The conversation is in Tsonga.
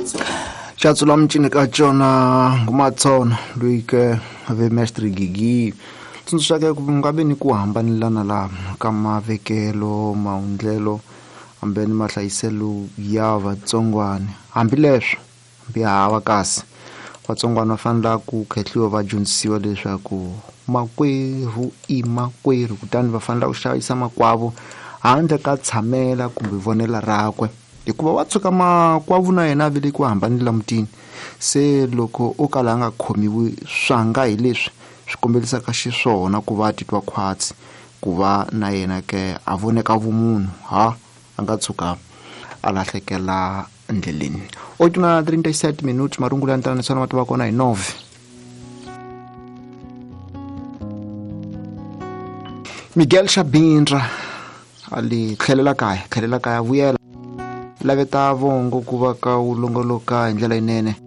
Xatsula micini ka cona ngumatsona loyi ke ve mestre Gigi tsundzuxaka ku nga vi ni ku hambanelana la ka mavekelo, maundlelo hambi ni mahlayiselo ya vatsongwana. Hambileswo hambi hava kasi vatsongwana va fanele ku khehliwa va dyondzisiwa leswaku makwerhu i makwerhu, kutani va fanele ku xavisa makwavo handle ka tshamela kumbe vonela rakwe, hikuva wa tshuka makwavo na yena a velekiwa hambanile la mutini. Se loko o kala a nga khomiwi swanga hi leswi swi kombelisaka xiswona ku va a titwa khwatsi ku va na yena ke a voneka vumunhu, ha a nga tshuka a lahlekela ndleleni. 8:37 minutes, marungulo ya ntlanganisano ma tiva kona hi 9. Miguel Xabindra ali tlhelela kaya, tlhelela kaya, vuyela laveta vongo ku va ka wu longoloka hi ndlela yinene.